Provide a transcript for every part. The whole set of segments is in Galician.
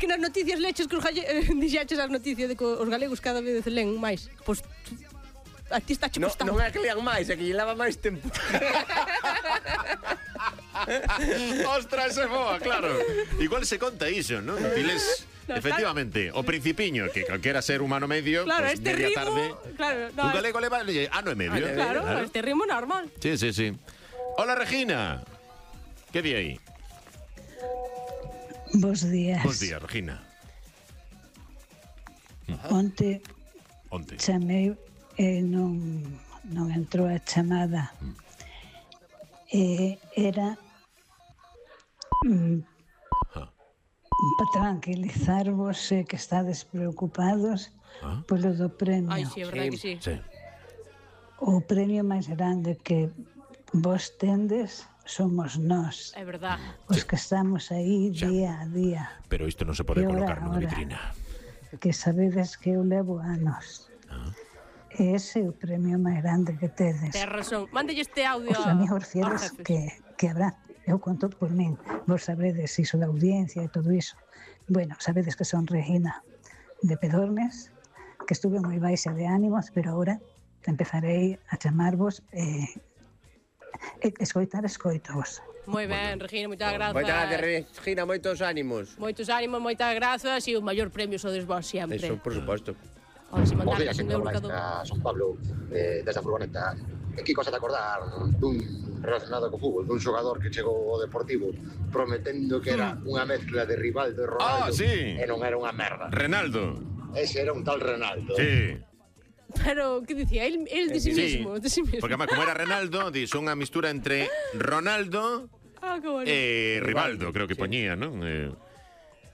que nas noticias leches que os dixeches as noticias de que os galegos cada vez len máis. Pois a ti está che costando. Non é que lean máis, é que lle leva máis tempo. Ostras, é boa, claro. Igual se conta iso, non? Diles, efectivamente, o Principiño, que calquera ser humano medio, claro, pues, este media rimo, tarde, claro, un galego leva ano e medio. Claro, este ritmo normal. Sí, sí, sí. Hola, Regina. Que di aí? Bos días. Bos días, Regina. Onte chamei e non entrou a chamada. Era para tranquilizarvos que estades preocupados polo do premio. Ai, sí, é verdade que sí. O premio máis grande que vos tendes somos nós. É verdade. Os que estamos aí día a día. Pero isto non se pode colocar nunha vitrina. Que sabedes que eu levo anos. E ese é o premio máis grande que tedes. Tens razón. Mándelle este audio os amigos fieles que habrá. Eu conto por min. Vos sabedes iso da audiencia e todo iso. Bueno, sabedes que son Regina de Pedornes, que estuve moi baixa de ánimos, pero agora empezarei a chamarvos escoitovos. Moi ben, Regina, moitas grazas. Moitas gracias, Regina, moitos ánimos. Moitos ánimos, moitas grazas e o maior premio sodes vos sempre. Eso, por suposto. Ahora, se Bos mandar días, un euro cada Son Pablo, desde a furgoneta. Que cosa de acordar dun relacionado co fútbol, dun xogador que chegou ao Deportivo prometendo que era unha mezcla de Rivaldo e Ronaldo, sí. E non era unha merda. Renaldo. Ese era un tal Renaldo. Sí. Pero, que dicía? El de sí mismo, de sí mismo. Porque, como era Renaldo, son unha mistura entre Ronaldo e Rivaldo, creo que poñía, non?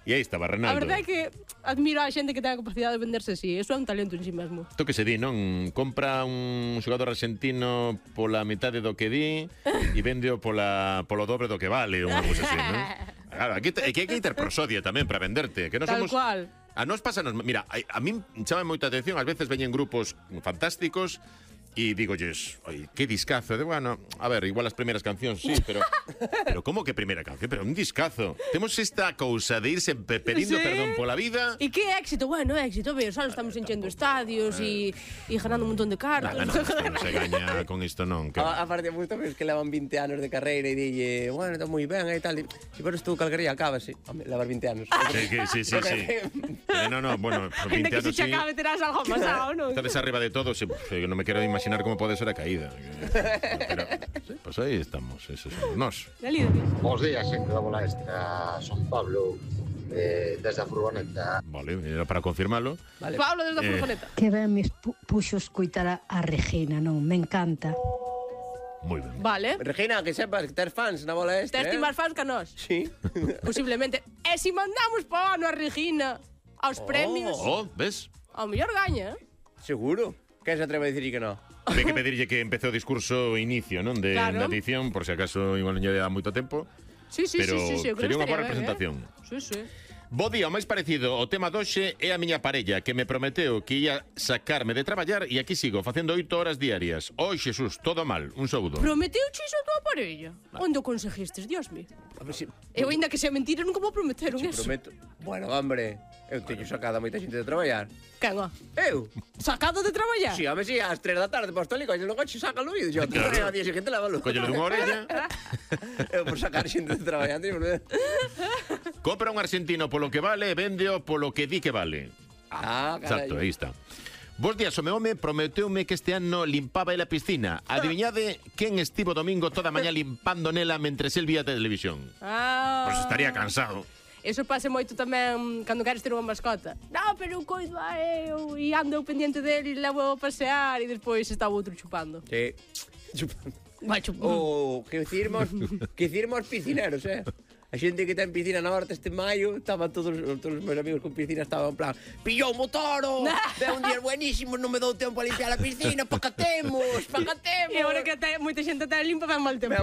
E aí estaba Renaldo. A verdade é que admiro a xente que ten a capacidade de venderse así. Eso é un talento en sí mesmo. Isto que se di, non? Compra un xogador argentino pola metade do que di e véndeo polo dobre do que vale, unha cousa así, non? Claro, aquí hai que ter prosodia tamén para venderte, que non Tal somos... cual. A nos pásanos, mira, a min chama moita atención, ás veces veñen grupos fantásticos e digolles, oi, que discazo, de bueno, a ver, igual as primeiras cancións, sí, pero como que primeira canción? Pero un discazo. Temos esta cousa de irse pedindo perdón pola vida. E que éxito, bueno, éxito, ver, só estamos enchendo estadios e ganando un montón de cartas. Non se gaña con isto, non. A parte, gusta que levan 20 anos de carreira e dille, bueno, está moi ben e tal. Se pones tú calquería, acabase. Levar 20 anos. Sí. No, bueno, 20 que anos se acabe terás algo pasado, non? Estades arriba de todo, non me quero imaginar como pode ser a caída. Pero, sí, pues aí estamos, esos somos nós. Bos días, xente da bola extra. Son Pablo, desde a furgoneta. Vale, era para confirmalo. Vale. Pablo desde a furgoneta. Que ben me puxo escoitar a Regina, non? Me encanta. Moi ben. Vale. Regina, que sepas que ter fans na bola extra. Tes máis fans que nós? Sí. Posiblemente. E se mandamos pa ano a Regina aos premios? Ves? Ao mellor gaña, Seguro? Quen se atreve a dicir que non? Hai que pedirlle que empece o discurso inicio, non? Da edición, por se acaso igual non lle dá moito tempo. Sí, pero sería unha boa representación. Sí. Bo día, o máis parecido ao tema doxe é a miña parella, que me prometeu que ia sacarme de traballar e aquí sigo, facendo 8 horas diarias. Oi, Xesús, todo mal, un saúdo. Prometeu iso a tua parella? Onde o conseguistes, Dios mío? Eu ainda que sea mentira, nunca vou prometer un eso. Prometo. Bueno, hombre, eu teño sacado a moita xente de traballar. Quen, ó? Eu? Sacado de traballar? Si, a si, ás 3 da tarde posto ali, coño, no coche, sácalo e yo, a día seguinte lávalo. Collelo dunha orella. Eu por sacar xente de traballar, Compra un argentino polo que vale e véndeo polo que di que vale. Exacto, aí está. Bos días, o meu home prometeume que este ano limpaba ele a piscina. Adiviñade quen estivo domingo toda a mañá limpando nela mentres el vía televisión. Pois estaría cansado. Eso pasa moito tamén cando queres ter unha mascota. Non, pero eu coido a eu e ando pendiente dele e levo a pasear e despois está o outro chupando. Sí, chupando. Vai chupando. Que hicimos piscineros, A xente que ten piscina na horta este maio, estaban todos os meus amigos con piscina, estaban en plan, pillou o toro, ve un día buenísimo, non me dou tempo a limpiar a piscina, pacatemos. E agora que moita xente ten limpa, ven mal tempo.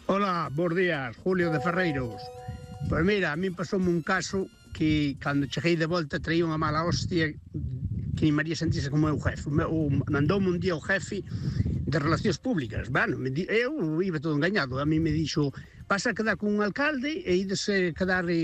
Hola, bons días, Julio de Ferreiros. Pois mira, a min pasoume un caso que cando cheguei de volta traía unha mala hostia que ni María sentise como meu jefe. Mandoume un día o jefe de Relacións Públicas. Bueno, eu iba todo engañado. A mí me dixo, vas a quedar con un alcalde e ides quedar